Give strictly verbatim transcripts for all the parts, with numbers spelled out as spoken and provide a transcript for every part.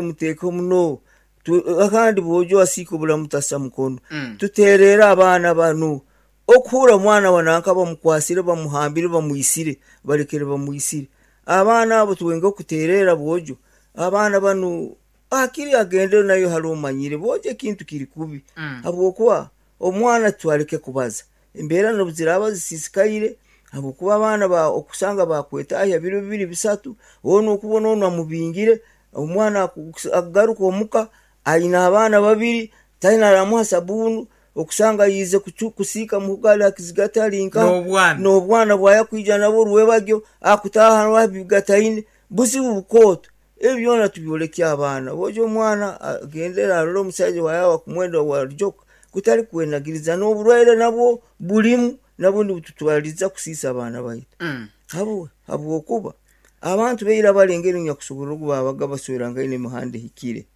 Muteeke muno. Tu- akandi bwojo asiika obulamu tasa mukono. Mm. Tuterera abaana banu okuhura omwana wananka bamukwasire, bamuhambire, bamwisire, balekere bamwisire abaana abo. Tuwenge okuterera bwojo abaana banu, akiri agende nayo hali omanyire bwojo ekintu kiri kubi. Mm. Habwokuba omwana twaleke kubaza embeera nobuziraba zisisikaire, habwokuba abaana ba okusanga bakwetahya biro bibiri bisatu, onu okubona onu amubingire omwana, aku- akugaruka omuka aina abaana babiri, taina aramuha sabunu, okusanga yize kuchu- kusiika muhugali akizigata alinka N'obwana. N'obwana bwayakwija nabwo rwebagyo akutaha wabigataine buzibu bukooto. Ebyo byona tubyolekye abaana bojo. Omwana agendera arole omusaija wayawa kumwenda warujoka kutali kwenagiriza n'oburwaire nabwo bulimu, nabwo nibututwaliza kusiisa abaana baitu. Mm. Habwe habwokuba abantu baira balengere nyakusobora ogu babaga baswerangaine emihanda ehikire.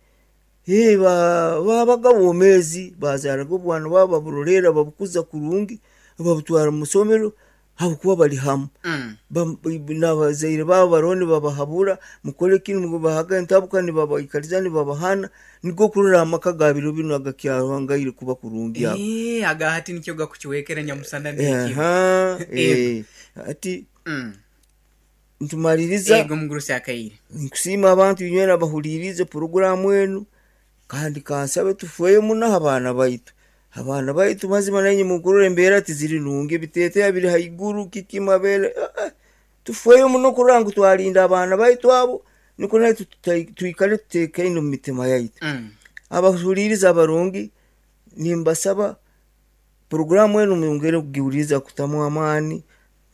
Hey, ba- babaga bomeezi, bazaraga obwana bwabo, baburoleera, babukuza kurungi, babutwara mu masomero habwokuba bali hamu. Mm. Bam- n'abazaire babo baroho nibabahabura, mukole kinu, bahaga entabuka, nibabaikaliza, nibabahana, nikwo kurora amaka ga biro binu agakyahangaire kuba kurungi ago. Eh, aga hati nikyo gakukiwekera nyamusana n'ekiro. Aha, Ego. eh, ati Mm. ntumaliriza. Ego, mugurusi akaire. Nkusiima abantu inywena abahuliriize poroguramu enu, kandi kansabe tufeyo muno abaana baitu, abaana baitu. Mazima nainye mukurora embeera tiziri nungi, ebiteeteeya biri haiguru, kiki mabere. Ah, ah, tufeyo muno kurora ngu twalinda abaana baitu abo, nikwo naitwe tutai- twikale tuteekaine omu mitima yaitu. Mm. Abahuliriza abarungi, nimbasaba poroguramu enu mwongere kugiwuliriza, kutamu amaani,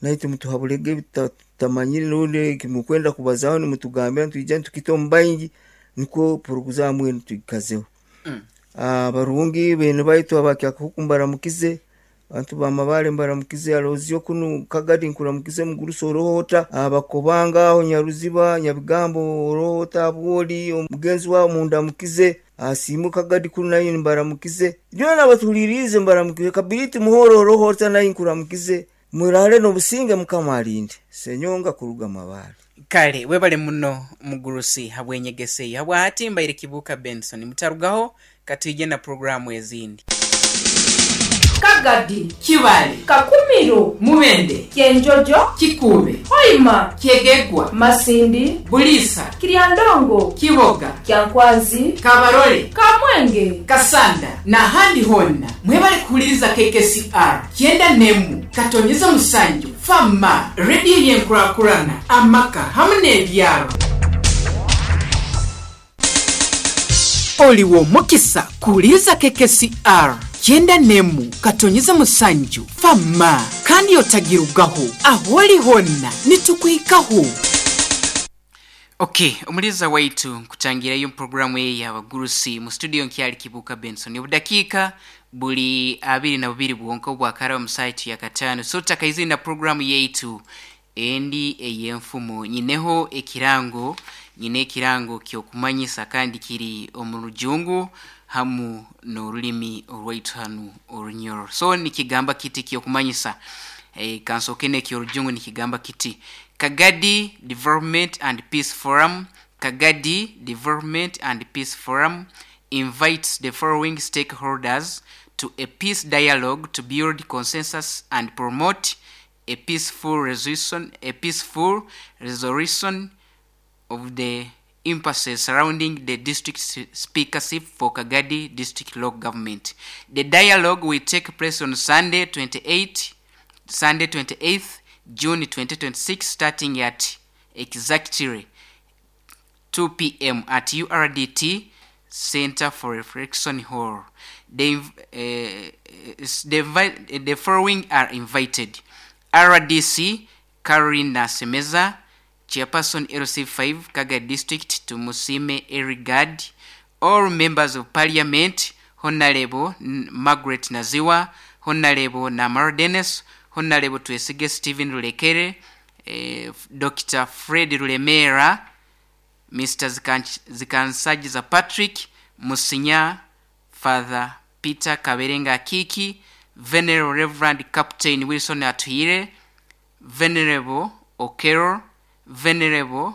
naitwe mutuhabulege ebitutamanyire, rundi mukwenda kubazaho nimutugambira, nitwija nitukita omu baingi, nikwo poroguramu enu tuikazeho. Mm. Abarungi bene baitu abakyakahuku mbaramukize, abantu bamabale mbaramukize, alozio kunu Kagadi nkuramukize, mugurusi orohota, abakobanga aho Nyaruziba, Nyabigambo orohota, abwoli omugenzi wabo mundamukize, asimu Kagadi kunu naye mbaramukize, byona abatuhuliriize mbaramukize, Kabiriti Muhoro orohota naye nkuramukize. Murale n'obusinge, Mukama alinde. Senyonga kuruga Mabale. Kale webale muno mugurusi habwenyegesa eyo. Habwahati mbaire Kibuuka Benson, mutarugaho, katwije na puroguramu ezindi. Kagadi, Kibale, Kakumiro, Mubende, Kyenjojo, Kikuube, Hoima, Kyegegwa, Masindi, Buliisa, Kiryandongo, Kiboga, Kyankwanzi, Kabarole, Kamwenge, Kasanda n'ahandi honna, mwebale kuhuliriza K K C R kyenda nemu katonyeza musanju fama rediyo yenkurakurana amaka hamu n'ebyaro. Oliwo omukisa kuwuliriza K K C R kyenda nemu katonyeza musanju fama, kandi otagirugaho, aho oli honna nitukwikaho. Okay, omuliza waitu, nkutangirayo programu eyi y'abagurusi. Mu studio nkyali Kibuuka Benson. Obudakiika buli abiri na bubiri bwonka obwakara omu saitu ya kataano, so tutakaizire na programu yaitu endi ey'enfumo. Nyineho ekirango, nyine ekirango kyokumanyisa, kandi kiri omu Rujungu hamu n'orulimi orwaitu hanu Orunyoro. So nikigamba kiti kyokumanyisa, e, kansooke n'ekyorujungu. Nikigamba kiti: Kagadi Development and Peace Forum. Kagadi Development and Peace Forum invites the following stakeholders to a peace dialogue to build consensus and promote a peaceful resolution a peaceful resolution of the impasses surrounding the district speakership for Kagadi District Local Government. The dialogue will take place on Sunday twenty-eight Sunday twenty-eighth June twenty twenty-six, starting at exactly two p m at U R D T Center for Reflection Hall. The, uh, the, the following are invited: R D C Caroline Nasemeza, Chairperson L C five Kaga District, Tumusime Erigad, all members of Parliament, Honorable Margaret Naziwa, Honorable Namar Dennis, Honorable Twesige Stephen Rulekere, eh, Doctor Fred Rulemera, Mister Zikansajiza Patrick, Musinya Father Peter Kaberenga Kiki, Venerable Reverend Captain Wilson Atuhire, Venerable Okero, Venerable